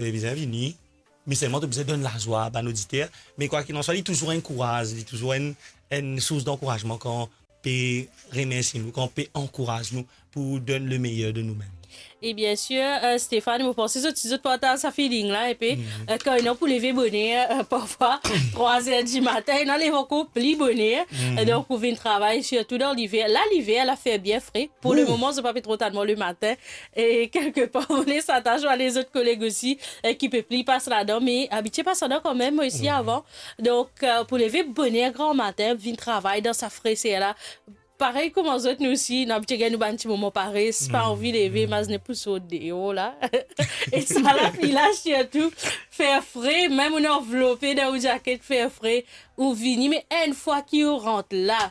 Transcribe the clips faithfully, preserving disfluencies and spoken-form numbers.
to bizin vini, me selman to bizin donn lazwa bann oditer. Me kwa ki non swa, li touzour enn kouraz, li touzour enn, enn sours dankourazman kan pe remersie nou, kan pe ankouraz nou pou donn le meyer de noumem. E bien sir, euh, Stéphane, mo panse zot, si zot partaz sa feeling la, epi, euh, kan ena pou leve boner, euh, parfwa trwa zer di matin, ena leve ankor pli boner. Euh, donk, pou vinn travay, sirtou dan liver. La, liver, la fer bien fre. Pou le moman, zot pa pe tro tann mwa le matin. E kelkepar, mo les atas a lezot koleg osi, euh, ki pe pli pas ladan, me abitie pas ladan kanmem, mwa osi avan. Donk, euh, pou leve boner granmatin, vinn travay dan sa freser la, parey kouma zot, nou osi, nou abitie gagn nou bann ti moman pares, pa anvi leve, mazne pou sort deor la. E sa lapli la, sirtou, fer fre, mem ou anvlope dan ou zaket, fer fre, ou vini, me enn fwa ki ou rant la,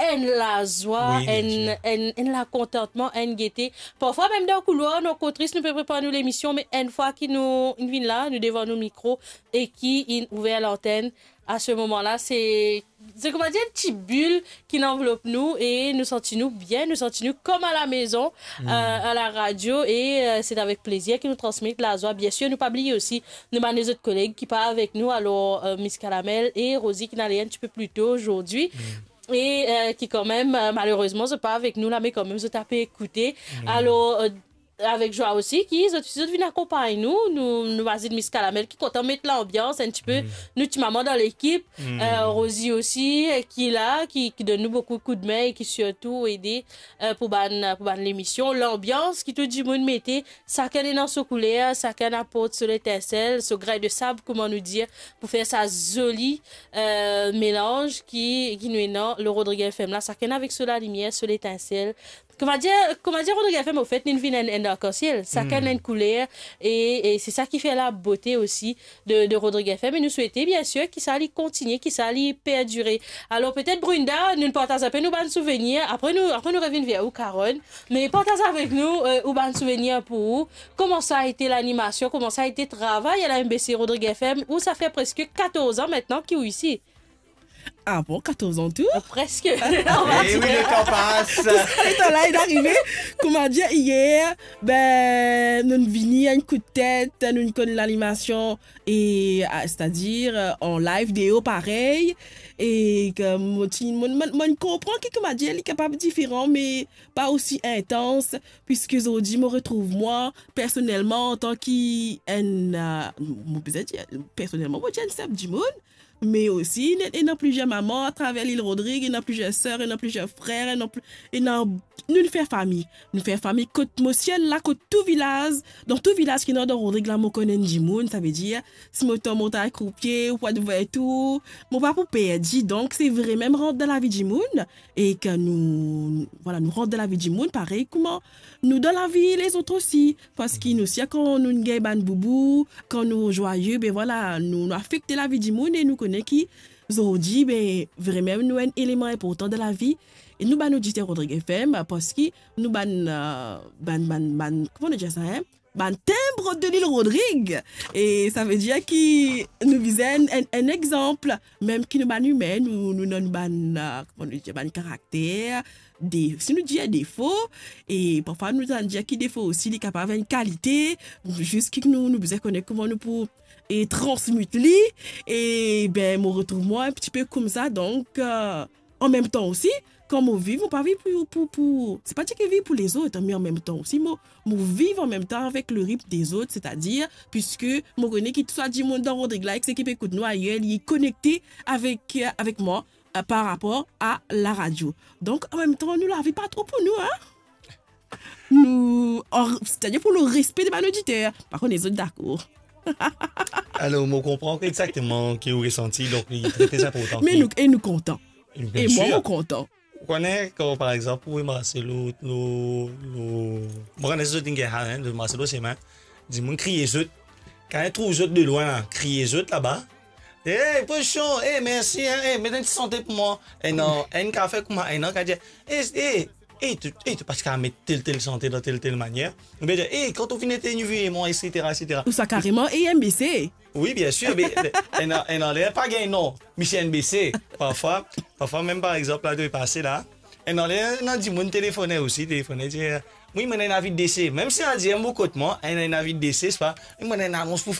enn lazwa, enn, enn, enn lakontantman, enn gete. Parfwa, mem dan koulwar, nou ankor tris, nou pe prepar nou lemision, me enn fwa ki nou, inn vinn la, nou devan nou mikro, e ki inn ouver lantenn, a se moman la, se, se kouma dir, enn ti bil ki anvlop nou e nou santi nou bien, nou santi nou kom a lamezon, euh, a laradio e, euh, se avek plezir ki nou transmet lazwa. Bien sir, nou pa bliye osi nou bann lezot koleg ki pa avek nou, alor, euh, Miss Kalamel e Rosie ki inn ale enn ti pe pli to zordi. E, euh, ki kanmem, euh, malerezman, zot pa avek nou la, me kanmem, zot ape ekoute. Alor, euh, avek zwa osi ki zot, zot vinn akonpagn nou, nou, nou mazin Miss Kalamel ki kontan met lanbians enn ti pe, nou ti mama dan lekip, euh, Rosie osi, euh, ki la, ki, ki donn nou boukou koudme e ki sirtou ede, euh, pou bann, pou bann lemision. Lanbians ki tou dimoun mete, sakenn ena so kouler, sakenn aport so letinsel, so grin de sab, kouma nou dir, pou fer sa zoli, euh, melanz ki, ki nou ena lor Rodrig FM la, sakenn avek so lalimier, so letinsel, Kouma dir, kouma dir Rodrig FM, anfet, linn vinn enn, enn arkansiel, sakenn enn kouler, e, e se sa ki fer labote osi de, de Rodrig FM, e nou swete, bien sir, ki sa li kontinie, ki sa li perdire. Alor, petet, Brenda, nou partaz inpe nou bann souvenir, apre nou, apre nou revinn ver ou, Carole, me partaz avek nou, euh, ou bann souvenir pou ou, kouma sa ete lanimasion, kouma sa ete travay a la MBC Rodrig FM, ou sa fer preske katorz an aster ki ou isi. Ah bon, katorz an tou? Euh, preske. Eh oui, le tan pas. Tou sa letan la inn arive, kouma dir, yer, be, nou vini enn kout tet, nou konn lanimasion, e, ah, setadir, euh, an live deor parey, e ki mo ti, mo, mo, mo konpran ki, kouma dir, li kapav diferan, me pa osi intans, piski zordi mo retrouv mwa personelman antan ki enn, euh, mo bizin dir, personelman, mo ti enn sinp dimoun, me osi, ena, ena plizier mama atraver Lil Rodrig, ena plizier ser, ena plizier frer, ena pli-, ena, nou, nou fer fami. Nou fer fami kot mo siel la, kot tou vilaz, dan tou vilaz ki ena dan Rodrig la, mo konn enn dimoun, savedir, si mo tom Montagne Croupier ou Pointe Verte tou, mo pa pou perdi. Donk, se vremem rant dan lavi dimoun, e ki nou, vwala, nou rant dan lavi dimoun, parey kouma nou dan lavi lezot osi. Paski nou sir kan nou gagn bann boubou, kan nou zwaye, be vwala, nou, nou afekte lavi dimoun e nou kone ki zordi, be, vremem nou enn eleman inportan dan lavi. E nou bann oditer Rodrig FM, paski nou bann, euh, bann, bann, bann, kouma nou dir sa, hein? Bann timbre de Lil Rodrig. E savedir ki nou bizin enn, enn exanp. Mem ki nou bann imin, nou, nou ena bann, euh, kouma nou dir, bann karakter, de, si nou dir defo, e parfwa nou tann dir ki defo osi, li kapav enn kalite, zis ki nou, nou bizin kone kouma nou pou, e, transmit li, e, be, mo retrouv mwa enn ti pe koumsa, donk, euh, an mem tan osi, kan mo viv, mo pa viv pou, pou, pou, se pa dir ki viv pou lezot, me an mem tan osi, mo, mo viv an mem tan avek le ritm dezot, setadir, piski mo kone ki tou sa dimoun dan Rodrig la, ek seki pe ekout nou ayer, li konekte avek, euh, avek mwa, euh, par rapor a laradio. Donk, an mem tan, nou lavi pa tro pou nou, hein? Nou, an, setadir pou le respe de bann oditer. Par kont, lezot dakor. Alor, mo konpran exakteman ki ou resanti, donk li tre, tre inportan. Me ki nou, e nou kontan. E mwa, mo kontan. Ou kone, kan, par exanp, ou marse lor, lor, lor, mo kone zot inn gagn, hein, marse lor semin, dimoun kriye zot. Kan trouv zot de lwin la, kriye zot laba. "Hey, pozision, hey, mersi, hein, hey, met enn ti sante pou mwa." Enn, enn kafe kouma, enn ka dir, "Hey, hey, hey, to, hey, to pa ti kapav met tel, tel sante dan tel, tel manier." Oubien dir, "Hey, kan to finn ete nou vire mwa, et cetera, et cetera." Ou sa kareman, "Hey, MBC." Wi, bien sir, me, me, enn, enn ler pa gagn non, misie MBC. Parfwa, parfwa mem, par exanp, la, to pase la, enn ler, ena dimoun telefone osi, telefone, dir, Mwa, mo ena enn avi de dese. Mem si Indien mo kot mwa, ena enn avi de dese, se pa, mo ena enn anons pou